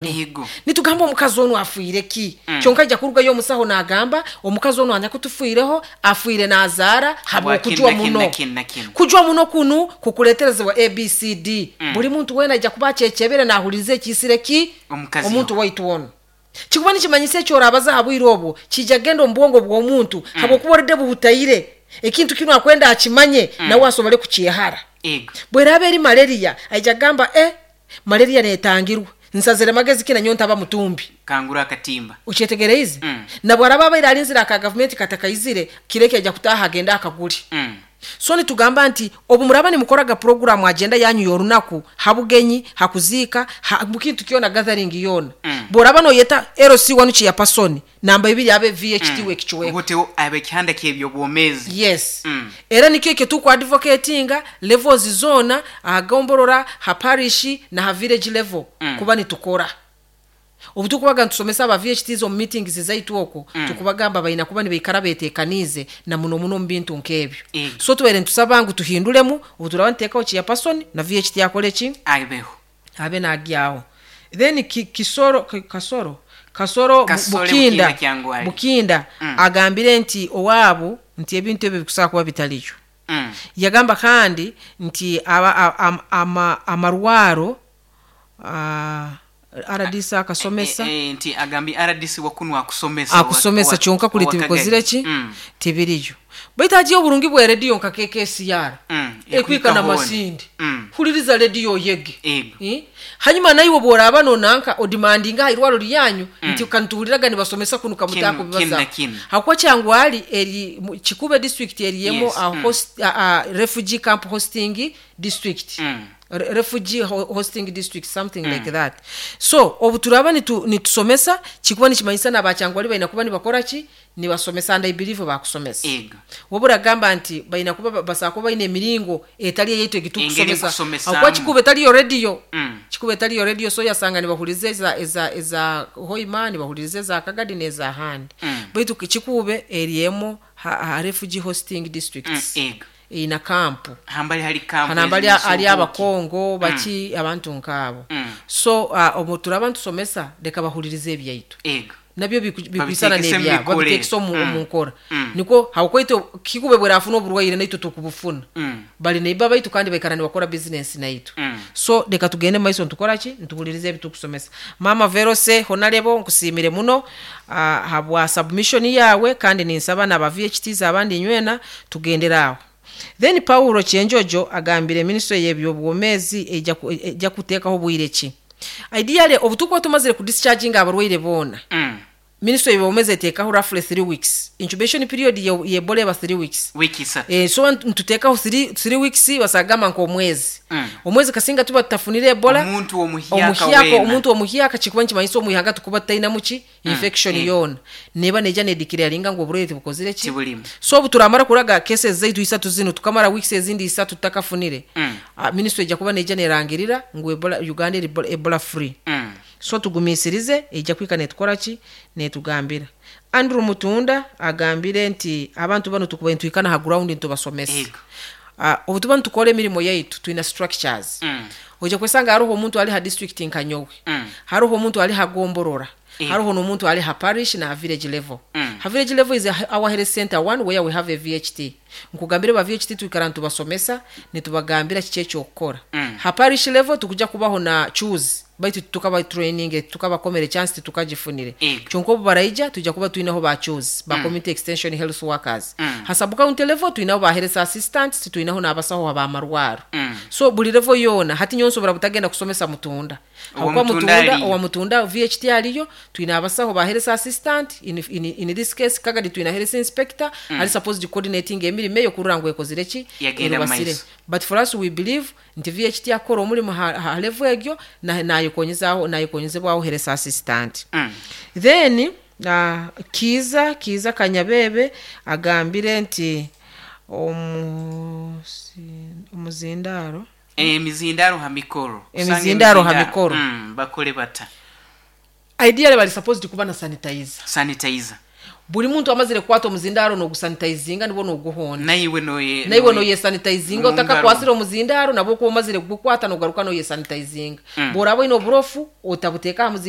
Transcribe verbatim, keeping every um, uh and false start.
Yego. Nitugamba omukazi onu afiire ki? Mm. Kyonka ajja kurugayo omusaho n'agamba omukazi onu anyakutufiireho afiire n'azaara habw'okujwa Habwa kinu muno. na kinu na kinu. Kujwa muno kunu kukuleeterezebwa A B C D. Mm. Buli muntu weena ajja kuba akyekebere n'ahuliriza ekiisire ki omukazi. Omuntu waitu ono kikuba nikimanyisa ekyorabaza ha bwire obwo kijja kugenda omu bwongo bw'omuntu, Mm. habwokuba oredde buhutaire ekintu kinu akwenda akimanye, Mm. nawe asobole kukyehara. Ego. Bweraaba eri malaria, aija kugamba, "E, malaria netangirwa, nsazire magezi ki nanyowe ntaba mutumbi." Kangura akatimba. Okyetegereize? Mm. Nabwaraba abaire alinzire aka gavumenti katakaizire, kireke ajja kutaaha agende akaguli. Mm. So nitugamba nti obu muraba nimukoraga programu, agenda yanyu y'orunaku, habugenyi, hakuziika, ha, mukintu kyona, gathering yoona, Mm. bworaba noyeta L C one chairperson, namba ibiri abe V H T mm. wekichweka. Obuteho ab'ekihanda ky'ebyobwomeezi. Yes. Mm. Era nikyo ekyo tukuadvocatinga levels zona, ahagomborora, ha parish na ha village level, Mm. kuba nitukora obu tukubaga nitusomesa aba V H Ts omu meetings zaitu okwo, Mm. tukubagamba balina kuba nibaikara betekaniize na muno muno omu bintu nk'ebyo. Ego. So tubaire nitusaba ngu tuhindulemu obu turaba nituteekaho chairperson na V H T akole ki? Abeho. Abe nagyaho. Then ki, kisoro ki, kasoro kasoro Bu- Kasole. Bukinda. Bukinda Kyangwali. Bukinda Mm. agambire nti owaabo nti ebintu ebyo bikusobola kuba bitaliyo. Mm. Yagamba kandi nti aba, a- am, ama, amarwaro uh, R D C akasomesa. E, e, nti agambye R D C wakunu akusomesa wa- Akusomesa wa- kyonka kuli wa tibikozire Kagadi. ki, Mm. tibiriyo, baitu agiye oburungi bwa rediyo nka K K C R Mm. ekwika na hoona. masindi. Mm. Huliriza rediyo oyege. Ego. Eh? Hanyuma naiwe bworaba nonanka odemandinga ha irwaro lyanyu nti kantuhuliraga nibasomesa kunu kamutako. Kinu- kinu na kinu. Hakuba Kyangwali eri mu- Kikube district eriyemo Yes, a mm. host, a, a refugee camp hosting district, Mm. Re- refugee ho- hosting district, something like that. So obu turaba nitu, nitusomesa kikuba nikimanyisa nabakyangwali balina kuba nibakora ki? Nibasomesa, and I believe bakusomesa. Ego. Wabura agamba nti balina kuba basobola kuba balina emiringo etali eyaitu Engeri egitukusomesa. nkusomesaamu. Akuba Kikuba etaliyo rediyo. Mm. Kikuba etaliyo rediyo, so yasanga nibahuriza eza, eza, eza Hoima, nibahuriza eza Kagadi n'eza handi, Mm. baitu Kikuube eriemu ha, ha refugee hosting districts. Mm, ego. Ina kampu. Hambali hali kampu. Hanambali eziri ali Subuki. Abakongo baki, abantu nkaabo. Mm. So uh, obu turaba ntusomesa, leka bahuririze ebyaitu, Ego. nabyo biku- bikwisana Babitekese mu n'ebyabo. mikore. Babitekese omu Mm. omu nkora. Mm. Niko habwokwaitu Kikube bwerafuna oburwaire, naitwe tukubufuna. Mm. Bali neiba baitu kandi baikara nibakora bizinesi naitu. Mm. So leka tugende maiso ntukora ki? Ntuhulirize ebitukusomesa. Mama Verose honalebo, nkusiimire muno uh, habwa submission yawe, kandi ninsaba naba V H Ts abandi nywena tugendere aho. Then Paulo Kyenjojo agambire ministry y'ebyobwomeezi ejja ku- ejja kuteekaho bwire ki? Ideally obu tukuba tumazire kudischarginga abarwaire boona, Mm. ministry y'ebyobwomeezi eteekaho roughly three weeks incubation period ye ye Ebola, eba three weeks. Wiki isatu. Eh, so ntuteekaho three weeks, basagamba nk'omwezi. Mm. Omwezi kasinga tuba tutafunire Ebola omuntu omuhyaka omuhyaka weena. Omuntu omuhyaka kikuba nikimanyisa omwihanga tukuba tutainamu ki? Infection mm. yoona neba neija nedeclaringa ngu oburwaire tibukozire ki? Tibulimu. So obu turamara kuraga cases zaitu isatu zino, tukamara weeks ezindi isatu tutakafunire, Mm. uh, ministry ejja kuba neija nerangirira ngu Ebola, Uganda eri Ebola, Ebola free. Mm. So tugumisirize, ejja kwika netukora ki? Netugambira. Andrew Mutunda agambire nti abantu bano tukuba nitwikana ha ground ntubasomesa. Ego. uh, obu tuba nitukora emirimo yaitu, twina structures. Mm. Ojja kwesanga hariho omuntu ali ha district nka nyowe, Mm. hariho omuntu ali ha gomborora, Eh. hariho n'omuntu ali ha parish na ha village level. Mm. Ha village level is our health center one where we have a V H T. Nkugambire ba V H T twikara nitubasomesa, nitubagambira kiki ekyokukora. Mm. Ha parish level tukuja kubaho na choose, baitu tukaba training, tukabakomera chance, titukagifunire. Ego. Kyonka obu baraija tujja kuba twinaho ba choose ba community extension health workers. Mm. Ha sub county level twinaho ba health assistants, twinaho n'abasaho abamarwaro. Mm. So buli level yoona hati nyowe nsobora butagenda kusomesa Mutunda. Owa Habwokuba Mutunda Mutunda aliyo. owa Mutunda V H T aliyo, twina abasaho ba health assistant. in, in, in this case Kagadi twina health inspector mm. ali supposed coordinating emirimo eyo kurora ngu ekozire ki? Yagenda mu Erubasire. maiso. But for us we believe nti V H T akora omulimu ha, ha level egyo na- nayekonyezaaho nayekonyezebwaho health assistant. Mm. Then uh, kiza kiza Kanyabebe agambire nti omusi- omuzindaro Emizindaro ha mikoro. Usanga Emizindaro ha mikoro. Mm, bakole bata? Ideally bali supposed kuba na sanitizer. Sanitizer. Buli muntu amazire kukwata omuzindaro nogusanitizinga nibwo noguhonda. Naiwe noye Naiwe noyesanitizinga. Mu ngaro. Otakakwasire omuzindaro, nabwo kuba omazire kugukwata nogaruka noyesanitizinga. Mm. Bworaba oine oburofu otabuteeka aha muzindaro.